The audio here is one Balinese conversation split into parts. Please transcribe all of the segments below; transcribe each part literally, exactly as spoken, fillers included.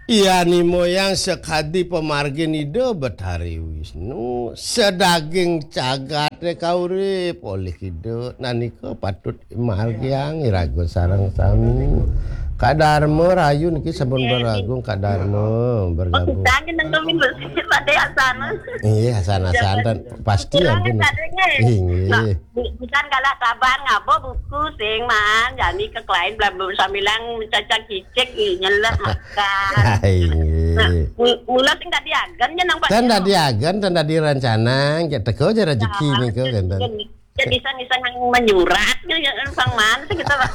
Iya, ni moyang sakadi pamargin Ida Betari Wisnu, sadaging jagaté kaurip olih Ida, nanika patut margiang iraga sareng sami. Kadarma rahayu niki sampun bergabung, Kadarma bergabung. Pakisang nang kami bersih pada asana. Iya, asana-asana pasti. Kurang ampun. Sadanya. Inggih. Nah, bu-, bukan galak taban ngaba buku sing man, jani ke klien belum sambilang mencacak cicik, ih, nyelek makan. Inggih. Nah, mu-, mula sing dadi agen ya nang Pak. Tan dadi agen, tan dadi rencana, ya teko aja rezeki. Nah, nika kan, tan. Jadi iseng-iseng nang menyurat ya, ya, sang man sing kita Pak.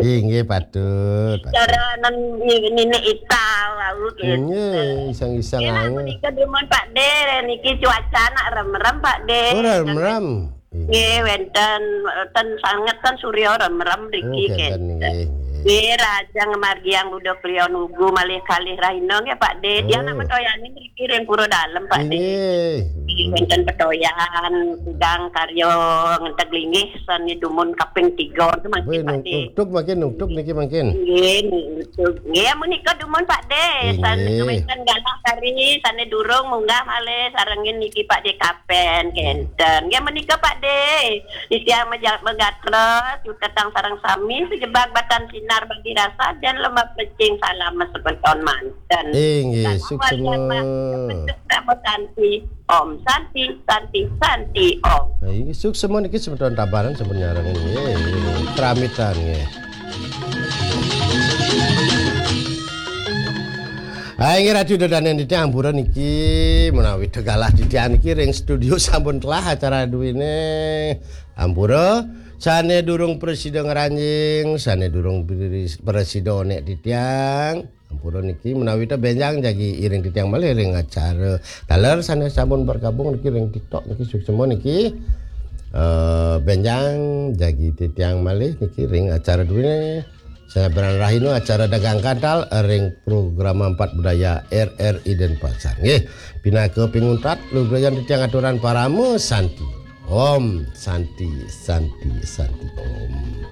Inggih, patut, patut. Cara nan ni-, nini ita wau gitu. Inggih, iseng-iseng. Kena anu. Menika dumun Pak De, niki cuaca nak rem-rem Pak De. Oh, rem-rem. Nggih, wénten, wénten sanget kan surya remrem mriki. Oh, kénten, nggih, nggih. Nggih, rahajeng ngamargiang Buda Kliwon Wugu malih kalih rahina nggih, Pak De. Tiang nak metoyanin mriki ring Pura Dalem, Pak De. Nggih. Nggih, wénten petoyan, sidang karya ngenteg linggih sané dumun kaping tiga mangkin, Pak De. Nungtug mangkin, nungtug niki mangkin. Nggih, nungtug. Nggih, menika dumun, Pak De. Nggih. Sané wénten galah kari, sané durung munggah malih sarengin niki, Pak De, kapen kénten. Nggih, menika, Pak De. Titiang meja-, megatra, cutetang sareng sami, sejebag batan sinar bagi rasa, dan lemak pecing salam semeton manten. Inggih, salam suksma. Walian Mas, bentuk Namo Santi, Om Santi, Santi, Santi, Om. Nah, inggih, suksma niki semeton Tabanan sampun nyarengin, nggih, kramitan, nggih. Ah, inggih, Ratu Dodanen titiang ampura niki, menawi tegalah titiang niki ring studio sampun telah acara duwine. Ampura, sané durung prasida ngranjing, sané durung pri-, prasida onek titiang. Ampura niki menawi ta benjang jagi iring titiang malih ring acara. Taler sané sampun bergabung niki ring TikTok niki suksma niki. Eh, benjang jagi titiang malih niki ring acara duwine. Sané berang rahina acara dagang kantal ring program empat budaya R R I Denpasar. Nggih, pinaka pinguntat lugrayan titiang aturan parama santi. Om Santi, Santi, Santi Om.